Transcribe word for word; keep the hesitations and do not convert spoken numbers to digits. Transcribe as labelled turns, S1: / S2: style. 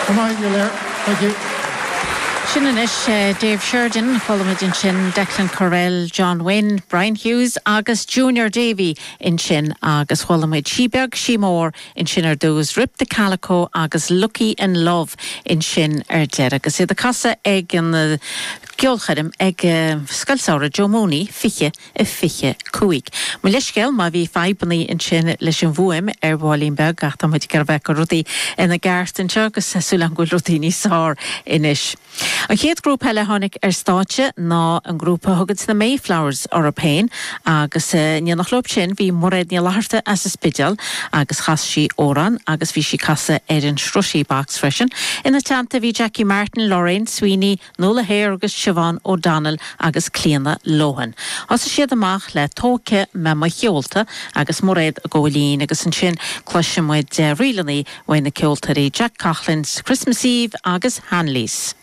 S1: Thank you.
S2: Sin anois uh, Dave Sheridan chuala muid ansin Declan Correll, John Wynne, Brian Hughes agus Junior Davy ansin agus chuala muid Sí Beag Sí Mór ansin ar dtús Rip the Calico agus Lucky in Love ansin ar deireadh agus iad ag casadh ag an uh, ceolchoirm ag uh, Scoil Samhraidh Joe Mooney fiche a fiche cúig. Mo leithscéal má bhí fadhbanna ansin leis an bhfuaim ar bheagáinín beag ach tá muid ag bheith go rudaí ina gceart anseo agus súil go bhfuil rudaí níos fearr anois. An chéad grúpa eile tháinig ar stáitse ná an grúpa thugann na Mayflowers orthu féin agus uh, ní nach lób sin bhí Mairéad Ní Fhlatharta as an Spidéal agus chas sí amhrán agus bhí sí ag casadh ar an srushie box freisin. Ina teannta bhí Jackie Martin, Lorraine Sweeney, Nola Hare agus Siobhan O'Donnell agus Clíona Lohan. Thosaigh siad amach le Tógfaidh Mé Mo Sheolta agus Mairéad ag gabháil fhoinn agus ansin cloisfidh muid ríleanna ó na ceoltóirí Jack Coughlin's Christmas Eve agus Hanleys.